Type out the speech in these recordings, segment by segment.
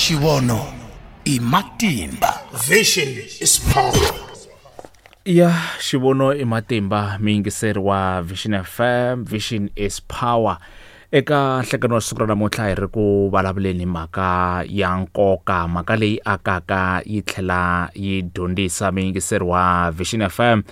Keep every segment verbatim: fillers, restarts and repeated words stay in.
Xivono i matimba. Vision is power. Ya xivono i matimba, miyingiseri wa Vision F M, Vision is power. Eka nhlekano wa siku ra namuntlha hi ri ku vulavuleni mhaka ya nkoka, mhaka leyi akaka yi tlhela yi dyondzisa miyingiseri wa Vision F M.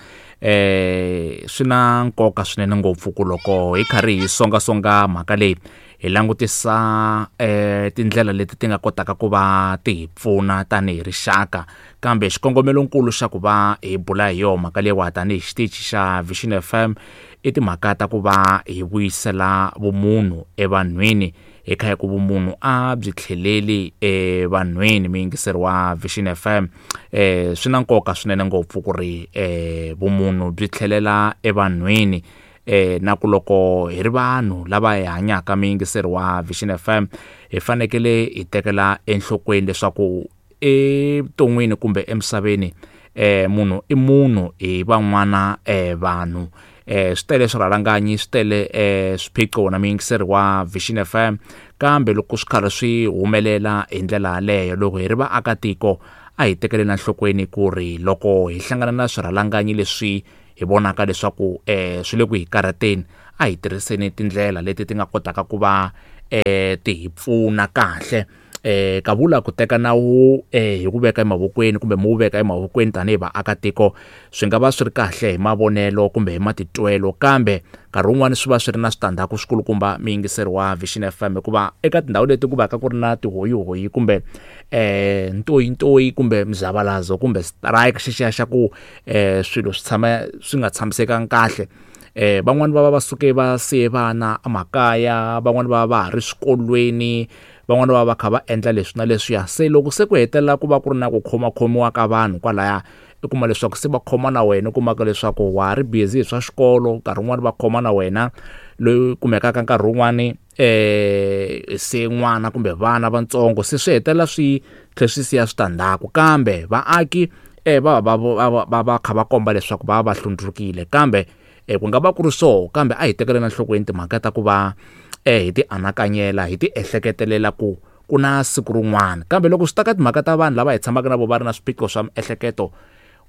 Eh swi na nkoka swinene ngopfu ku loko hi karhi hi songasonga mhaka leyi hi langutisa eh tindlela leti ti nga kotaka ku va ti hi pfuna tanihi rixaka, kambe xikongomelonkulu xa ku va hi bula hi yona mhaka leyiwa tanihi xitichi xa Vision F M i timhaka ta ku va hi vuyisela vumunhu evanhwini, hi kha hi ku vumunhu a byi tlheleli evanhwini. Miyingiseri wa Vision F M, eh swi na nkoka swinene ngopfu ku ri eh vumunhu byi tlhelela evanhwini, eh na ku loko hi ri vanhu lava hi hanyaka miyingiseri wa Vision F M hi fanekele hi tekela enhlokweni leswaku evuton'wini kumbe emisaveni eh munhu i munhu hi van'wana eh vanhu. Eh swi tele swirhalanganyi, swi tele eh swiphiqo na miyingiseri wa Vision F M, kambe loko swi karhi swi humelela hi ndlela yaleyo, loko hi ri vaakatiko a hi tekeleni enhlokweni ku ri loko hi hlangana na swirhalanganyi leswi hi vonaka leswaku eh swi le ku hi karhateni, a hi tirhiseni tindlela leti ti nga kotaka ku va eh ti hi pfuna kahle. Eh kavula ku teka nawu eh hi ku veka emavokweni kumbe mu veka emavokweni tanihi vaakatiko swi nga va swi ri kahle hi mavonelo kumbe hi matitwelo, kambe nkarhi wun'wani swi va swi ri na switandzhaku swikulukumba miyingiseri wa Vision F M, hikuva eka tindhawu leti ku vaka ku ri na tihoyihoyi kumbe eh ntoyintoyi kumbe mzavalazo kumbe strike xexiya xa ku eh swilo swi tshama swi nga tshamisekanga kahle. Eh van'wani va va va suke va siye vana emakaya, van'wani va va va ha ri swikolweni, van'wani va va kha va endla leswi na leswiya. Se loko se ku hetelela ku va ku ri na ku khomakhomiwa ka vanhu kwalaya, i kuma leswaku se va khoma na wena, u kumaka leswaku wa ha ri busy hi swa xikolo, nkarhi wun'wani va khoma na wena loyi kumekaka nkarhi wun'wani eh se n'wana kumbe vana vantsongo, se swi hetelela swi tlhe swi siya switandzhaku. Kambe vaaki eh va va va va va kha va komba leswaku va va hlundzukile, kambe eh ku nga va ku ri so, kambe a hi tekeleni enhlokweni timhaka ta ku va eh hi ti anakanyela, hi ti ehleketelela ku ku na siku rin'wana. Kambe loko swi ta ka timhaka ta vanhu lava hi tshamaka na vo va ri na swiphiqo swa miehleketo,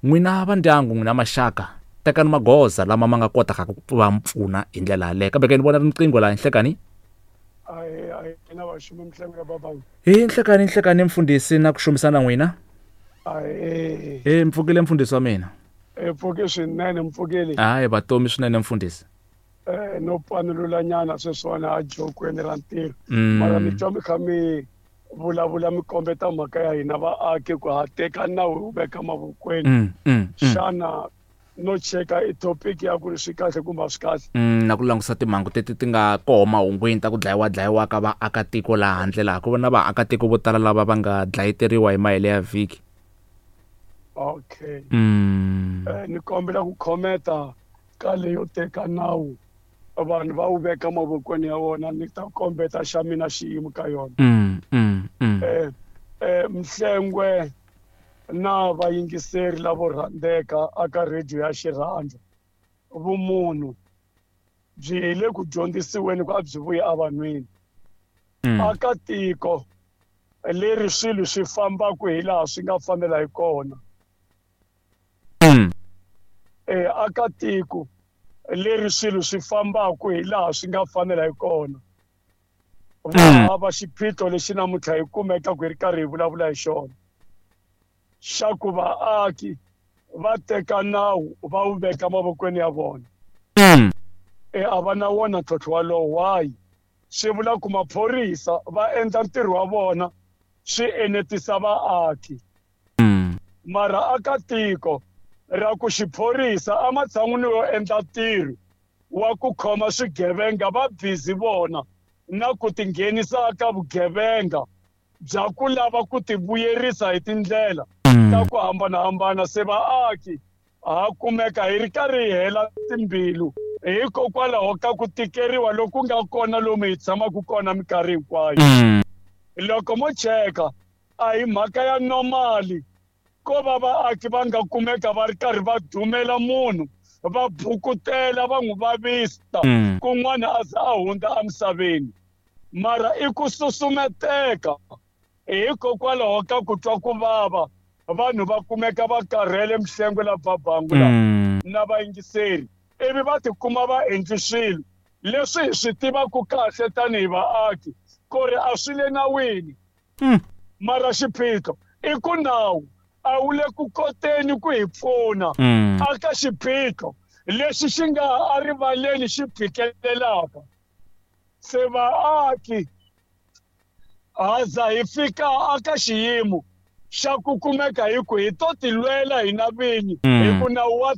n'wina va ndyangu, n'wina maxaka, tekani magoza lama ma nga kotaka ku va mpfuna hi ndlela yaleyo. Kambe ke ni vona riqingho laha nhlekani. Ayi ayi na vaxumi mhlengo ya babangi. Hi nhlekani, nhlekani mfundhisi na ku xumisana n'wina. Ayi. Eh mpfukile mfundhisi wa mina. E pfuke swinene mpfukile. Hayi vatomi swinene mfundhisi. Eh no panulula nyana sweswiwani a jokweni ra ntirho. Mara mi twa mi kha mi vulavula mi kombeta mhaka ya hina vaaki ku ha teka nawu wu veka mavokweni. Xana no cheka i topic ya ku ri swi kahle kumbe a swi kahle? Na ku langusa timhangu teti ti nga koho mahungwini ta ku dlayiwa dlayiwa ka vaakatiko laha handle laha ku va na vaakatiko vo tala lava va nga dlayeteriwa hi mahele ya vhiki. Okay. Mm. Eh ni kombela ku khometa ka leyo teka nawu vanhu va wu veka mavokweni ya wona, ni ta kombeta xa mina xiyimo ka yona. Mm, mm, mm. Eh eh mhlengwe na vayingiseri lavo rhandzeka aka radio ya Xirhandza, vumunhu byi hi le ku dyondzisiweni ku a byi vuyi evanhwini. Mm. Aka tiko leri swilo swi fambaka hi laha swi nga fanela hi kona. Mm. Eh aka tiko leri swilo swi fambaka hi laha swi nga fanela hi kona. Va hava xiphiqo lexi namuntlha hi kumeka ku hi ri karhi hi vulavula hi xona, xa ku vaaki va teka nawu va wu veka mavokweni ya vona. Mm. E a va na wona ntlhontlho walowo. Why? Swi vula ku maphorisa va endla ntirho wa vona swi enetisa vaaki. Mm. Mara aka tiko ra ku xiphorisa ematshan'wini yo endla ntirho wa ku khoma swigevenga va busy vona na ku tinghenisa ka vugevenga bya ku lava ku tivuyerisa hi tindlela ta ku hambanahambana. Se vaaki ha kumeka hi ri karhi hi hela timbilu hikokwalaho ka ku tikeriwa loku nga kona lomu hi tshamaka kona minkarhi hinkwayo. Loko mo cheka a hi mhaka ya normali ko va vaaki va nga kumeka va ri karhi va dumela munhu va bukutela va n'wi vavisa kun'wana a za a hundza emisaveni, mara i ku susumeteka Hikokwalaho ka ku twa ku vava vanhu va kumeka va karhele mihlengo la babangu la Mm. na vayingiseri ivi va tikuma va endli swilo leswi hi swi tivaka kahle tanihi vaaki ku ri a swi le nawini. Mm. Mara xiphiqo i ku nawu a wu le ku koteni ku hi pfuna Mm. aka xiphiqo lexi xi nga erivaleni xi phikelelaka. Se vaaki haza hi fika aka xiyimo xa ku kumeka hi ku hi to tilwela hina vinyi Mm. hi ku nawu wa